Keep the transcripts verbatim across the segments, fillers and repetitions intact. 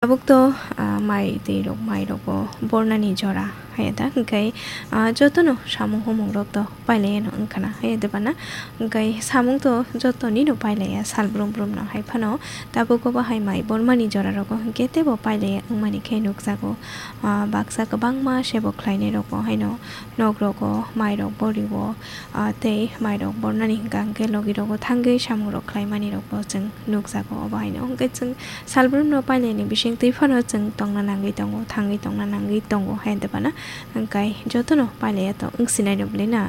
Tabuk to, ah, mai twi rok, mai rok bo bornani jora hai da, hwnkhe, ah, jotono samung humung rok to pailai ano wngkha na hai da bana, hwnkhe samung to jotoni no pailai ya sal brum brum no hai phano tabuk bo hai mai bormani jora rogo hwnkhe teibo pailai ya wngmani khe nukjago, ah, baksa kwbangma sebo khlainai rok bo haino nok rogo mai rok bo rio, ah, tei mai rok bornani hwnkha hwnkhe logi rogo thangwi samung rok khlaimani rok bo chwng nukjago obo haino hwnkhe chwng Salbrumno pailaini bisingtwi phano chwng tongna nangwi tongo, thangwi tongna nangwi tongo hai hwnkhe phano hwnkhe jotono pailaiya to wngsinai no bwlwi na.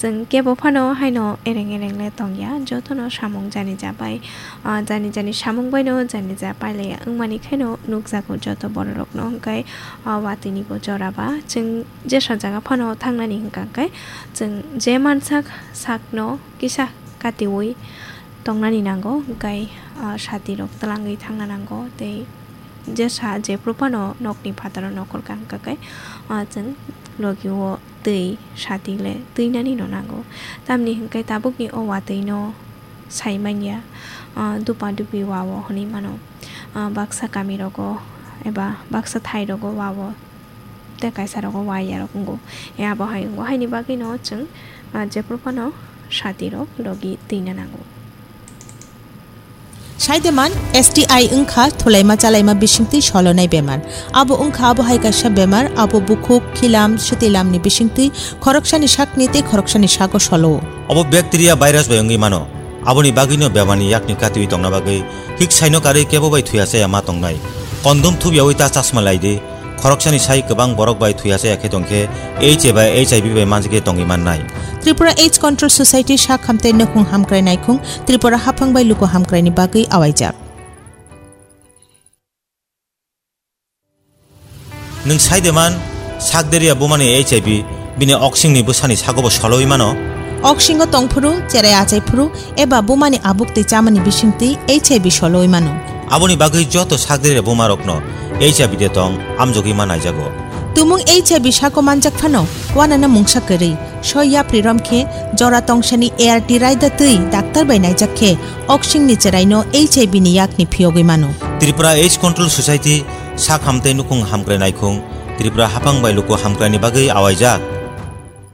Chwng kebo phano haino ereng ereng le tongya, jotono samung jani ja bai, ah, jani jani samung baino jani ja pailaiya wngmani khaino nukjago joto bororokno hwnkhe, ah, watwini bo jora ba chwng jesa jaga phano thangnani hwnkha hwnkhe chwng je mansak sakno kisa katiui tongnani nango, hwnkhe, ah, sati rok twlangwi thangna nango, tei jesa jephru phano nokni phataro nokol kha hwnkha khe, ah, chwng logi o twi sati le twinani no nango. Tamni hwnkhe tabukni o watwi no sai manya, ah, dupa dupi wa o hwnwi mano. Ah, baksa kami rogo eba baksa thai rogo wa o tei kaisa rogo wa ya rok wngo. E abo hai wngo, haini bagwi no chwng, ah, jephru phano sati rok logi twina nango. Saideman S T I wngkha thulaima chalaima bisingtwi solonai bemar. Abo wngkha abo hai kaisa bemar, abo bukhuk, khilam, sitilamni bisingtwi khoroksani sakni tei khoroksani sago solo. Obo bacteria virus bai wngwi mano. Aboni bagwino bemarni yakni katiui tongna bagwi hik saino karwi kebo bai thuya chaya ma tongnai. Kondom thubyaui ta chasma lai di. Khoroksani sai kwbang borok bai thuya chaya khe tongkhe H A bai H I V bai manjagwi tongwi mannai. Tripura AIDS Control Society sak hamtei nukhung hamkrai naikhung Tripura haphang bai luku hamkraini bagwi awaijak. Nwng saideman, sakderia bumani H I V, bini oksingni bwsani sagobo soloi mano. Oksingo tongphuru, cherai achaiphuru, eba bumani abuk tei chamani bisingtwi H I V soloi mano. Aboni bagwi joto sakderia bumarokno H I V de tong amjogwi ma naijago. Tumung H I V sako manjak phano, wanano mungsa kwrwi, soi yapri rom khe, jora tongsani A R T raida twi daktar bai naijak khe, oksingni cheraino H I V ni yakni phiyogwi mano. Tripura AIDS Control Society sak hamtei nukhung hamkrai naikhung Tripura haphang bai luku hamkraini bagwi awaijak.